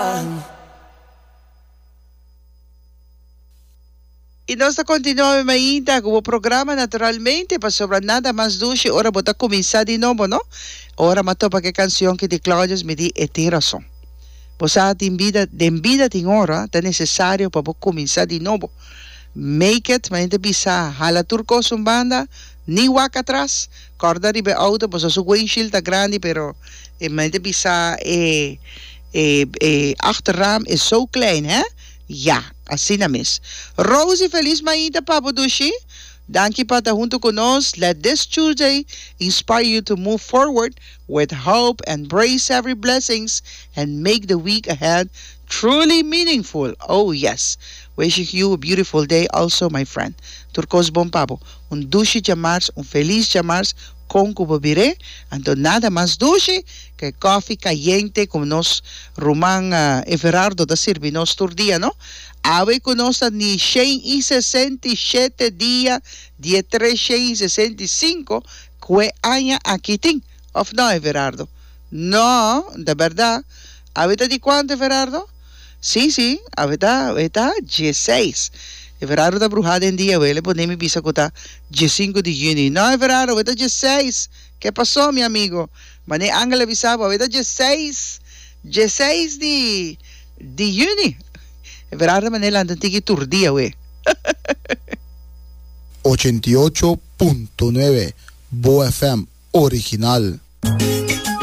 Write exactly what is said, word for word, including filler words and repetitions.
Aruba. I nos ta kontinuá mainta ku e programa, naturalmente, pasobra nada mas dushi ora bo ta kuminsá di nobo, no? Ora m'a topa ku e kansion ku di Claudius, mi di, e tin rason. Bo tin bida, den bida tin ora, ta nesesario pa kuminsá di nobo. Make it, ma hende bisa, hala tur kos un banda, ni wak atras, kòrda riba outo, pues su windshield ta grandi, pero e ma hende bisa e e e achterraam is zo klein, hè? Ja, asina mes. Rosie, felis mainta pa bo, dushi. Danki pa ta huntu ku nos. Let this Tuesday inspire you to move forward with hope, embrace every blessings, and make the week ahead truly meaningful. Oh, yes. Wishing you a beautiful day also, my friend. Tur kos bon pa bo. Un dushi djamars, un felis djamars, kon ku bo bir'é. Anto nada mas dushi ku kofi kayente ku nos ruman uh, Everardo ta sirbi nos tur dia, no? Awe ku nos ni shen i sesenta i shete dia, dia treshen i sesenta i sinku, ku aña aki tin. Òf no, Everardo? No, di berdat. Awe ta di kuantu, Everardo? Sí, sí, awe ta, awe ta diesseis. Everardo ta bruhá den dia, el a pone mi bisa ku ta diesinku di yüni. No, Everardo, awe ta diesseis. ¿Qué pasó, mi amigo? Mané Angel a bisa bo, awe ta diesseis. diesseis di, di yüni. Everardo mané lanta tiki tur dia, we. ochenta i ocho punto nuebe Bo F M original.